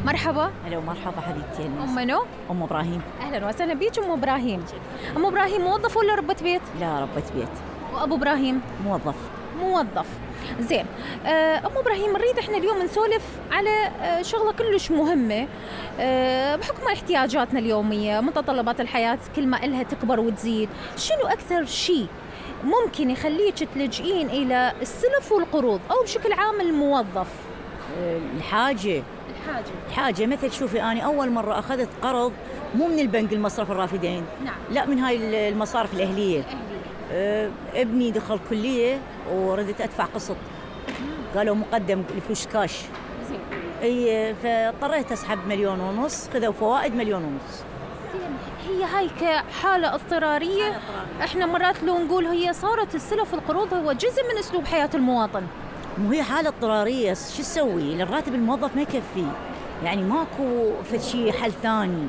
مرحبا. هلا ومرحبا حبيبتي. أم منو؟ أم إبراهيم. أهلا وسهلا بيك أم إبراهيم. أم إبراهيم موظفة ولا ربة بيت؟ لا، ربة بيت. وأبو إبراهيم؟ موظف. زين. أم إبراهيم، نريد إحنا اليوم نسولف على شغلة كلش مهمة بحكم احتياجاتنا اليومية، متطلبات الحياة كل ما إلها تكبر وتزيد. شنو أكثر شيء ممكن يخليك تلجئين إلى السلف والقروض أو بشكل عام الموظف؟ الحاجة مثل شوفي، أنا أول مرة أخذت قرض مو من البنك المصرف الرافدين. نعم. لا، من هاي المصارف الأهلية. ابني دخل كلية وردت أدفع قسط، قالوا مقدم الفلوس كاش. زين. اي، فاضطريت أسحب 1.5 مليون، خذوا فوائد 1.5 مليون. هي هاي كحالة اضطرارية. احنا مرات لو نقول هي صارت السلف والقروض هو جزء من أسلوب حياة المواطن. مو هي حالة اضطرارية، شو تسوي؟ الراتب الموظف ما يكفي، يعني ماكو فشي حل ثاني.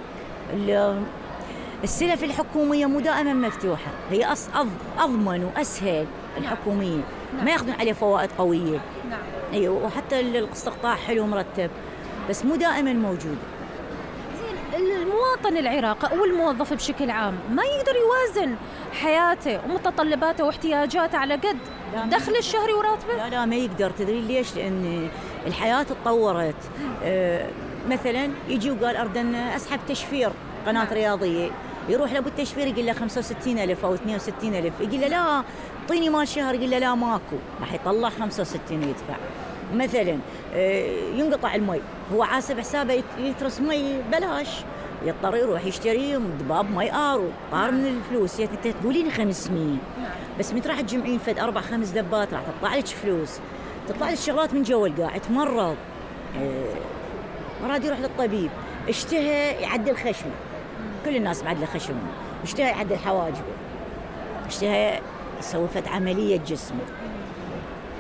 السلف الحكومية مو دائما مفتوحة، هي أضمن وأسهل. الحكومية ما ياخذون عليه فوائد قوية. نعم. أيوة، وحتى الاستقطاع حلو مرتب، بس مو دائما موجود. المواطن العراقي أو الموظف بشكل عام ما يقدر يوازن حياته ومتطلباته واحتياجاته على قد دخل الشهري وراتبه. لا، ما يقدر. تدري ليش؟ لأن الحياة تطورت. مثلا يجي وقال أريد أن أسحب تشفير قناة رياضية، يروح لأبو التشفير يقول له 65,000 أو 62,000، يقول له لا اعطيني مال شهر، يقول له لا ماكو، راح يطلع 65 ويدفع. مثلا ينقطع المي، هو حاسب حسابه يترس مي بلاش، يضطر يروح يشتري دباب مي طار من الفلوس. انت تقولين 500، بس متى راح تجمعين فد 4-5 دبات راح تطلع لك فلوس، تطلع لك شغلات من جوا القاع. تمرض، مراد يروح للطبيب، اشتهى يعدل خشمه، كل الناس معدله خشمهم، اشتهى يعدل حواجبه، اشتهى يسوي فد عملية جسمه.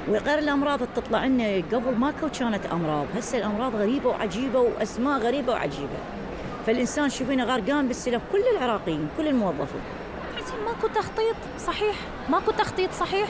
وغير الأمراض تطلع لنا، قبل ما كانت أمراض، هسه الأمراض غريبة وعجيبة وأسماء غريبة وعجيبة. فالإنسان شوفينه غرقان بالسلف، كل العراقيين كل الموظفين. ماكو تخطيط صحيح.